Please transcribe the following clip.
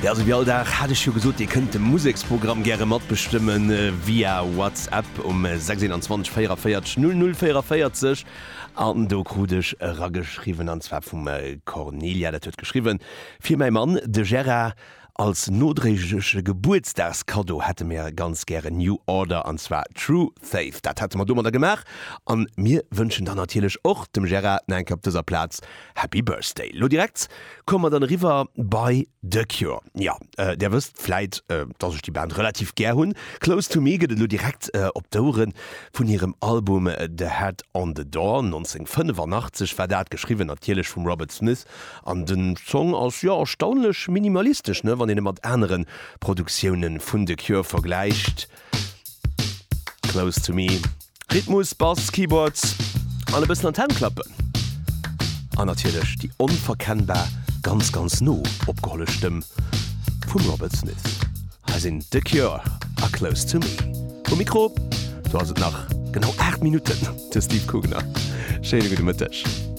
Jo, sou wéi all Dag hat ech jo gesot, dir kënnt de Museksprogramm gäre matbestëmmen via WhatsApp um 6 21 44 00 44. An do krut ech erageschriwwen, an zwar vum Cornelia, dat huet geschriwwen, Fir mäi Mann, de Gérard, als nodréigleche Gebuertsdagskaddo hätte mir ganz gären New Order, an zwar True Faith. Dat hätte mer domadder gemaach an mir wënschen dann natierlech och dem Gérard nach eng Kéier op dëser Plaz Happy Birthday. Lo direkt komme mer dann eriwwer bei The Cure. Jo, där wësst vläit, dass ech déi Band relativ gär hunn. Close to Me gëtt et elo direkt op d'Ouere vun hirem Album The Head on the Door, 1985 war dat, geschriwwen natierlech vum Robert Smith. An den Song ass, jo, erstaunlech minimalistesch, ne, wann een e mat anere Produktioune vun The Cure vergläicht. Close to Me. Rhythmus, Bass, Keyboards an e bëssen an d'Hänn klappen. An natierlech déi onverkennbar, ganz, ganz no opgeholle Stëmm vum Robert Smith. Hei sinn The Cure a Close to Me. Um Mikro, do ass et nach genau 8 Minutten, de Steve Kugner. Schéine gudde Mëtteg.